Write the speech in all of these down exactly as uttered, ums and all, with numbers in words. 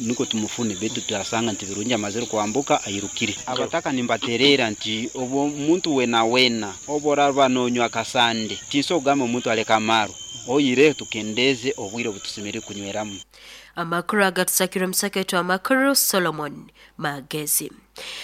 Niko tumufune betu tuyasanga nti Birungi amazire kwambuka ayirukire. Abataka nimbaterera nti obo omuntu wena wena oborarwa nonywa kasande tinso ogamba omuntu aleka amaro oyire tukendeze obwire obutusemere kunyweramu. Amakuru agatusakira omusaketu amakuru Solomon Magezi.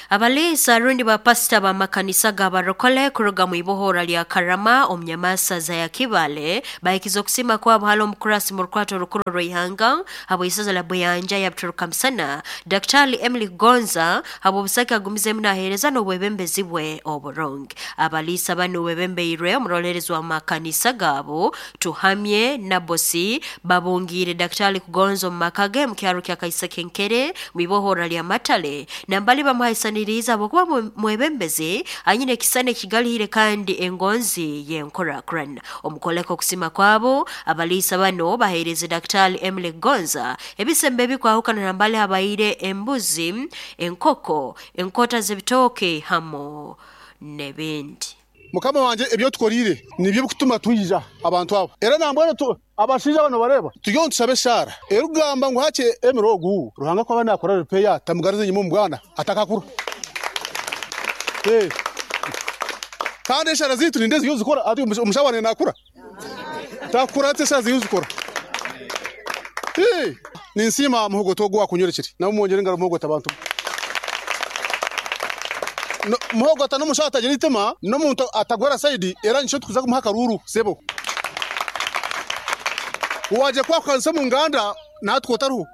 Abaliisa rundi bapasita b'amakanisa g'abarokole kuruga mu ibohora lya Karama omunyamasaza ya Kibale bahikiza okusima kwabo hali omukurasi mu rukwato rukuru rw'ihanga habw'isaza la Buyanja ya Buturuka-Musana Daktari Emily Gonza habw'obusake agumizemu naheereza n'obwebembezi bwe oburungi. Abaliisa banu bebembeirwe omurolerezi w'amakanisa gaabo Tuhamye Nabosi babungiire Daktari Kugonza omu maka ge mu kyaro kya Kaisekenkere mu ibohora lya Matale nambali bamuhaisaniriza habwokuba mwebembezi anyine ekisana ekigalihire kandi engonzi y'enkorakurana. Omukoleko okusima kwabo abaliisa bano baheereze Daktari Emily Gonza ebisembe ebikwahukana nambali habaire embuzi, enkoko, enkota z'ebitooke hamo n'ebindi. Mukama wanje ebyo tukorire nibyo bikutuma twija abantu abo era nambwene tu abashinja bano bareba tuyo ntusabe shara erugamba ngo hache emirogu Ruhanga kwa bana akora repair tamugarize nyuma mubwana atakakura eh kandi shara zitu nindezi yo zikora ati umushawane nakura takura ate shara ziyo zikora eh ninsima muhogo gwa kunyorekere na mwongere ngaro muhogo tabantu no muhogo atano mushata jiritema no muntu atagwara saidi era nsho tukuza kumuha karuru sebo waje kwa kansa mu nganda natwo taruhu.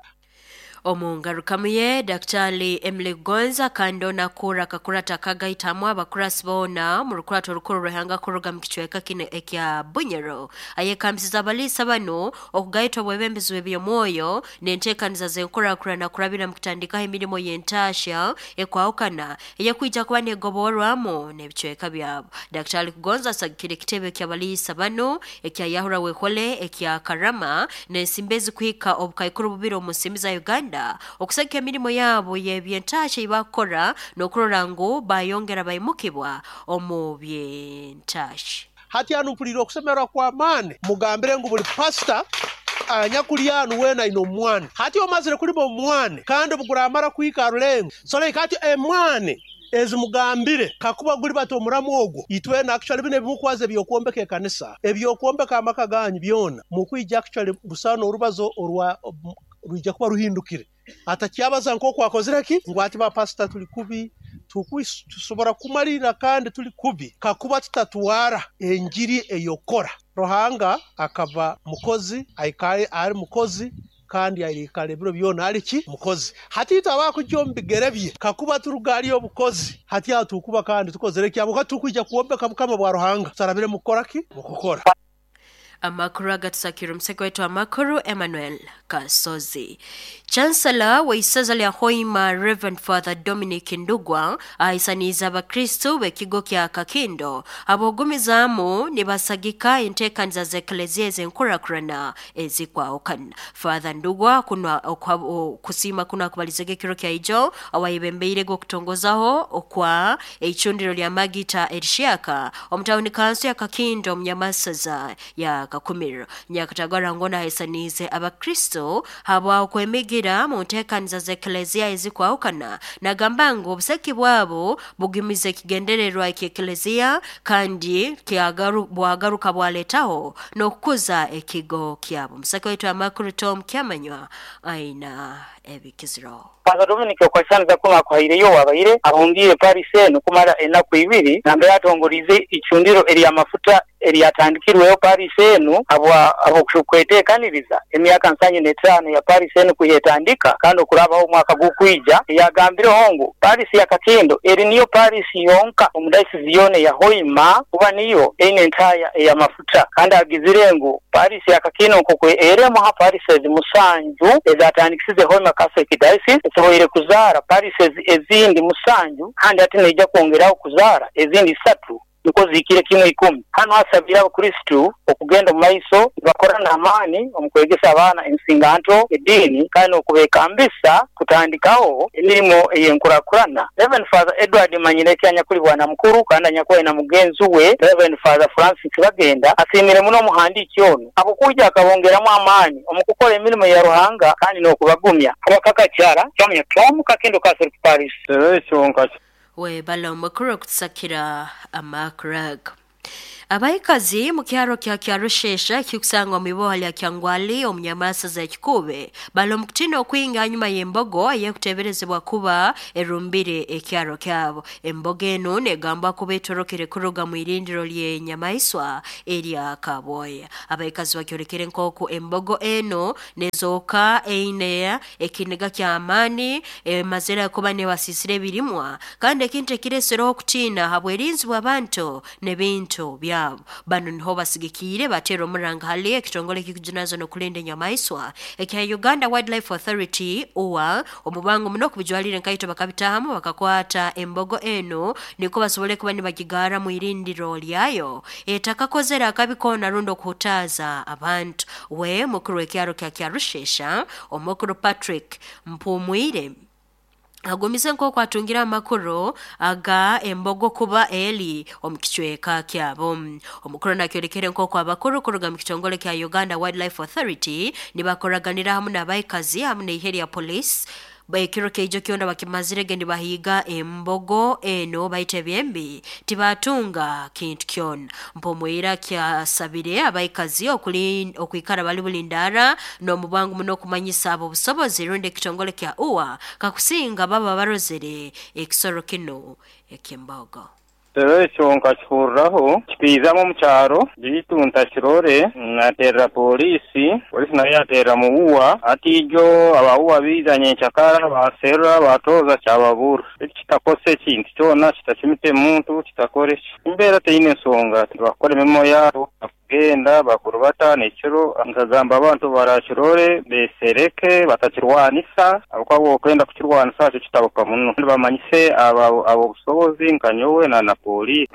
Omungarukamuye Daktari Emily Gonza kandi onakura kakurata kagaitamu abakurasi boona mu rukurato rukuru rw'ihanga kuruga mu kicweka kino ekya Bunyoro ayekambisiza abaliisa bano okugaita obwebembezi bw'ebyomwoyo n'enteekaniza z'enkorakurana kurabira mu kutandikaho emirimo y'entaasha ekwahukana eyekwija kuba negoborwamu n'ebicweka byabo. Daktari Kugonza asagikire ekitebe ky'abaliisa bano ekya Yahura Wekole ekya Karama n'ensimbi ezikuhika obukaikuru bubiri omu nsimbi za Uganda okusagika emirimo yabo y'ebyentasha ibakora n'okurora ngu bayongera baimukibwa omu byentasha. Hati hanu mpulire okusemererwa kw'amaani mugambire ngu buli pasita anyakulyanu wena ino omwana hati omazire kulima omwana kandi obuguramara kuhika rulengo so like hati emwana ezimugambire kakuba guli bato omuramu ogwo itwena actually bino ebimukwaza ebyokuombeka ekanisa ebyokuombeka amaka ganyu byona mukwija actually busano orubazo orwa ruija kuba ruhindukire atakyabaza nk'oku akozire ki ngu ati ba pastor tuli kubi tusobora kumalira kandi tuli kubi kakuba tutatwara enjiri eyokora. Ruhanga akaba mukozi aikaye ari mukozi kandi airikale ebiro byona ali ki mukozi. Hati itaba kujya omu bigere bye kakuba turugali obukozi hati atukuba kandi tukozere ki abo tukwija kuombeka mukama bwa Ruhanga tutarabire mukora ki mukukora. Amakuru agatusakira omuseko wetu amakuru Emmanuel Kasozi. Chancellor w'isaza lya Hoima Reverend Father Dominic Ndugwa ahisaniza abakristo b'ekigo kya Kakindo abogumizaamu nibasagika enteekaniza z'eklezia ez'enkorakurana ezikwahukana. Father Ndugwa kunwa kusiima kuno akubalizege ekiro kya ijo awayebembeire okutongozaho okwa eicundiro lya Magita erishyaka omutawuni kanso ya Kakindo omunyamasaza ya Kakumiro. Nyakatagara ngona haisanize abakristo habwa okwemigira mu nteekaniza z'eklezia ezikwahukana nagamba ngu obuseki bwabo bugimize ekigendererwa eky'eklezia kandi bwagaruka bwaletaho n'okukuza ekigo kyabo. Museke wetu amakuru Tom Kyamanywa aina ebikiziro. Father Dominic okwasaniza kuno akuhaireyo wabaire abungiire Paris eno kumara enaku ibiri nambe yatongorize icundiro ery'amafuta eryatandikirweyo Paris eno abwa abokweteekaniriza emyaka nsanyu n'etaano ya Paris eno kuyetandika kandi okurabaho omwaka gw'okwija yagambireho ngu Paris ya Kakindo eri niyo Paris yonka omu dayosisi yoona ya Hoima kuba niyo eine entaya ey'amafuta kandi agizire ngu Paris ya Kakindo nk'oku eremu ha Paris musanju ezatandikisize Hoima Catholic Diocese esoboire kuzaara Paris ezindi musanju kandi ati neija kwongeraho kuzaara ezindi isatu. niko zihikire kimwe ikumi. Hano asabira abakristu okugenda mu maiso bakora n'amaani omu kwegesa abaana ensinganto eddiini kandi n'okubekambisa kutandikaho emirimo ey'enkurakurana. Reverend Father Edward Manyireki anyakuli bwana mukuru kandi anyakuba na mugenzi we Reverend Father Francis Bagenda asiimire muno omuhandiiki ono abukuija akabongeramu amaani omu kukora emirimo ya Ruhanga kandi n'okubagumya. Abakakakyara kyamanya Tom Kakendo Kasero Paris. Webala omukuru okutusakira amakuru. Abaikazi mu kyaro kya Kyarushesha kikusangwa mu iboha lya Kyangwali omu nyamasa za Kikube bali omu kutiina okwinga hanyuma y'embogo ey'ekuteeberezebwa kuba erumbire ekyaro kyabo. Embogo enu negambwa kuba etorokere kuruga mu irindiro ly'enyamaiswa erya Kabwoya. Abaikazi bakyolekere nk'oku embogo enu nezooka eine ekiniga ky'amaani emazire kuba nebasiisira ebirimwa kandi ekintu ekireesereho okutiina habwerinzi bw'abantu n'ebintu byabo. Bano niho basigikiire batera omuranga hali ekitongole ekikujunazo n'okulinda enyamaiswa ekya Uganda Wildlife Authority U W A omubango muno okubijwalire nkaito bakabitahamu bakakwata embogo enu niko basobole kuba nibagigara mu irindiro lyayo etakakozera akabi koona rundi okuhutaaza abantu. We mukuru w'ekyaro kya Kyarushesha omukuru Patrick Mpumwire agumize nk'oku atungira amakuru aga embogo kuba eri omu kicweka kyabo. Omukuru nakyolekere nk'oku abakuru kuruga mu kitongole kya Uganda Wildlife Authority nibakoraganira hamu n'abaikazi hamu n'eihe lya police ekiro keijo kyona bakimazirege nibahiiga embogo eno baita ebyembi tibatunga kintu kyona. Mpumwire kyasabire abaikazi okwikara bali bulindaara n'omubangu muno okumanyisa abo obusobozi rundi ekitongole kya U W A kakusinga baba barozere ekisoro kino eky'embogo. Rero ekyo nkakihuriraho kikiizamu omu kyaro bitu ntakirore, naterera polisi, polisi nayo yaterera mu U W A. Ati ijo aba U W A biiza nyenkyakara baserura batoza kyababura kitakose ekintu kyona, kitakimite muntu, kitakore ki embeera teine ensonga bakora emirimo yabo kugenda bakurubata nekiro. Nkagamba abantu barakirore besereke batakirwanisa ahabwokuba okwenda kukirwanisa kyo kitabuka muno, bamanyise abo abobusobozi nka nyowe na na polisi.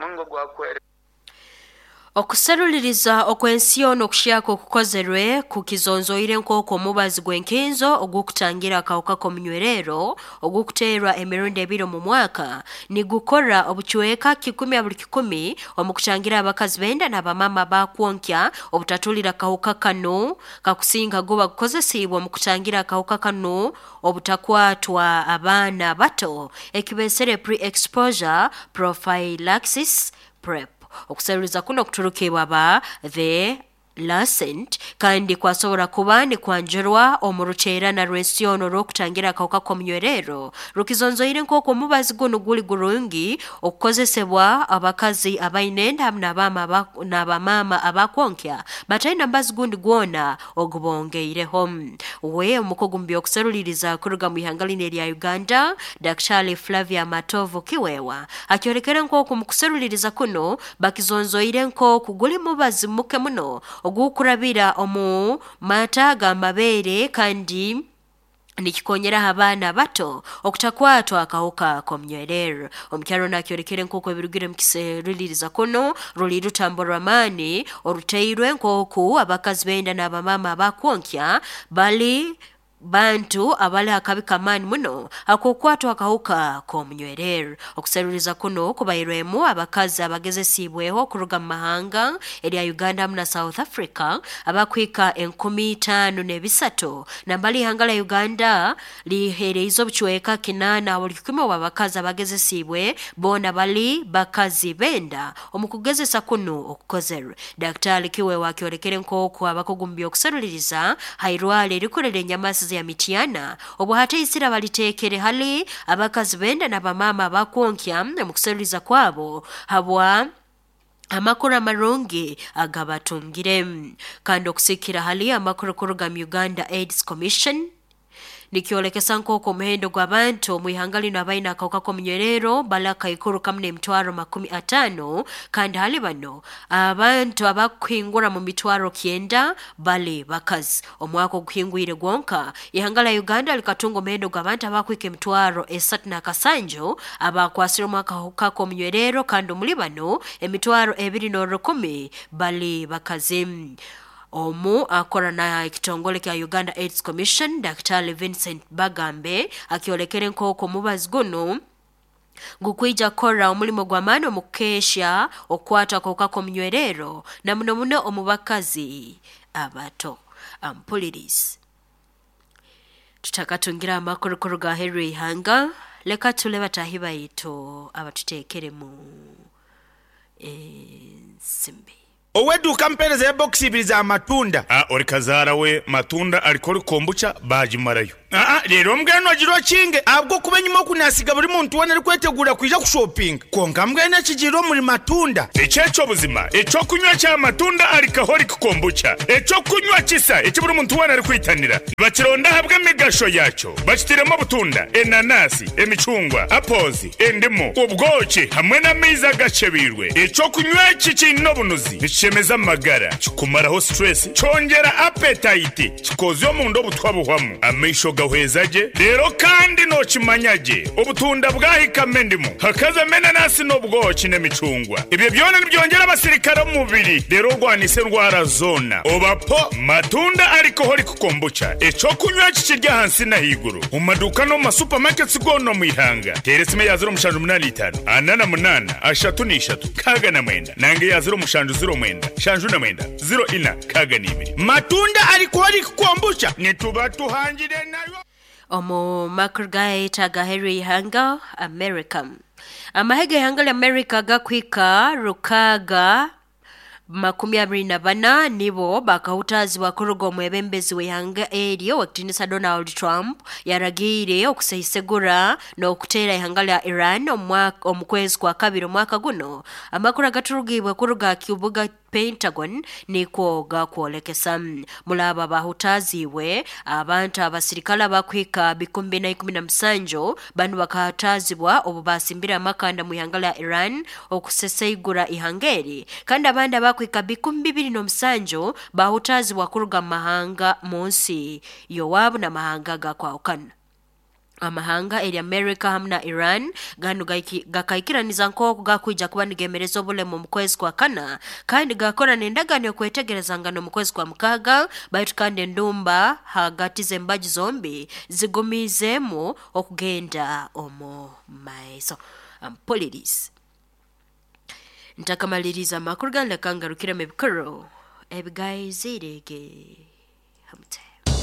Okuseruliriza okw'ensi yoona okushaka okukozerwe kukizonzoire nk'oku omubazi gw'enkinzo ogw'okutangira akawuka k'omunywerero ogw'okuteerwa emirundi ebiri omu mwaka nigukora obucweka kikumi buli kikumi omu kutangira abakazi benda n'abamama bakwonkya obutatulira akawuka kanu kakusinga guba gukozesiibwe omu kutangira akawuka kanu obutakwatwa abaana bato ekibesere pre-exposure prophylaxis, PrEP. Okuseruliza kuno kuturukibwa ba The Lancet kandi kwasobora kuba nikwanjurwa omu ruteerana rw'ensi yoona orw'okutangira akawuka k'omunywerero rukizonzoire nk'oku omubazi gunu guli gurungi okukozesebwa abakazi abaine enda hamu n'abamaama abakwonkya bataine mubazi gundi gwona ogubongeireho. We omukugu mu by'okuseruliriza kuruga mu ihanga linu erya Uganda, Daktari Flavia Matovu Kiwewa, akyolekere nk'oku mu kuseruliriza kuno bakizonzoire nk'oku guli mubazi muke muno ogw'okurabira omu mata g'amabeere kandi nikikonyeraho abaana bato okutakwatwa akawuka k'omunywerero. Omukyaro nakyolekere nk'oku ebirugire mu kiseruliriza kuno ruli rutambo rw'amaani oruteirwe nk'oku abakazi benda n'abamaama abakwonkya bali bantu abali akabi kamaani muno ak'okukwatwa akawuka k'omunywerero. Okuseruliriza kuno kubairwemu abakazi abagezesiibweho kuruga mu mahanga erya Uganda hamu na South Africa abakuhika enkumi itaano n'ebisatu. Nambali ihanga lya Uganda liheereize obucweka kinaana buli kikumi obw'abakazi abagezesiibwe boona bali bakazi benda omu kugezesa kuno okukozerwe. Daktari Kiwewa akyolekere nk'oku abakugu mu by'okuseruliriza hairwaro erikurera enyamasi ya Mityana obu hataisire baliteekere hali abakazi benda n'abamaama abakwonkya omu kuseruliza kwabo habwa amakuru amarungi agabatungire. Kandi okusikira hali amakuru kuruga mu Uganda AIDS Commission, Nikyolekesa nk'oku omuhendo gw'abantu omu ihanga lino abaine akawuka k'omunywerero balaka ikuru kamu n'emitwaro makumi ataano, kandi hali bano abantu abakuhingura mu mitwaro kyenda bali bakazi. Omwaka oguhingwire gwonka ihanga lya Uganda likatunga omuhendo gw'abantu abakwika emitwaro esatu n'akasanju abakwasire omu akawuka k'omunywerero, kandi omuli bano emitwaro ebiri n'orukumi bali bakazi. Omu akora na ekitongole kya Uganda AIDS Commission Daktari Vincent Bagambe akyolekere nk'oku omubazi guno gukwija kukora omulimo gw'amaani omu kukesha okukwata akawuka k'omunywerero na muno muno omu bakazi abato. Ampulirizi tutakatungira amakuru kuruga aheeru y'ihanga, leka tule bataahi baitu abatuteekeremu ensimbi. Oweduka mpereza ya box ibiri za matunda. Ah, ori kazaara we matunda alikori kombucha bagimarayo. Ah, rero mbwenu ogiro kinge abwo kuba enyuma okunasiga buri muntu wena ari kwetegura kwija kushopinga. Konka mbwenu ekigiro omuri matunda. Ekyekyo buzima, ekyokunywa kya matunda alikahori kombucha. Ekyokunywa kisa eki buri muntu wena ari kwitanira. Bakironda habwe emigasho yakyo. Bakitiremo obutunda, enanasi, emicungwa, apozi, endimu, ubwoki hamwe n'amaizi agacebirwe. Ekyokunywa eki kiine obunuzi. Nikishemeza amagara, kikumaraho stress, kyongera appetite, kikozya omunda obutwa buhwamu, amaisho gahweza gye, rero kandi nokimanya gye, obutunda bwahikamo endimu, hakazamo enanasi n'obwoki n'emicungwa. Ebyo byona nibyongera abasirikare omu mubiri, rero orwanisa endwara zona. Obapo matunda alcoholic kombucha, ekyokunywa kikirya ahansi n'ahaiguru, omu maduuka n'omu masupamaketi goona omu ihanga. Teera esimu eya ziro mushanju munaana itaano, ana na munaana, ashatu n'ishatu, nkaaga na mwenda, nange eya ziro mushanju ziro mwenda, shanju na mwenda, ziro ina, nkaaga n'ibiri. Matunda alcoholic kombucha nituba tuhangire nayo. Omu makuru gaita agaheeru y'ihanga America. Amahega y'ihanga lya America gakwika rukaga makumi abiri na bana nibo bakahutazibwa kuruga omwebembezi w'ihanga eryo wakitinisa Donald Trump yaragiire okuseisegura n'okuteera ihanga lya Iran omu kwezi kwa kabiri omwaka guno. Amakuru agaturugibwe kuruga kibuga Pentagon nikwo gakwolekesa. Mulaba bahutaziwe abantu abasirikale abakwika bikumi bina ikumi na musanju banu bakahutazibwa obu basimbira amakanda mu ihanga lya Iran okuseseigura ihanga eri, kandi abandi abakwika bikumi bibiri n'omusanju bahutazibwa kuruga mu mahanga mu nsi yowabu n'amahanga gakwahukana. Amahanga eri America hamwe na Iran ganu gakaikiraniza nk'oku gakwija kuba nigemereza obulemu omu kwezi kwa kana, kandi gakora n'endagaano y'okwetegerezangana omu kwezi kwa mukaaga, baitu kandi endumba hagati z'embaju zombi zigumizeemu okugenda omu maiso. Ampulirizi ntakamaliriza amakuru ganu leka ngarukiremu ebikuru ebigaizirege hamute.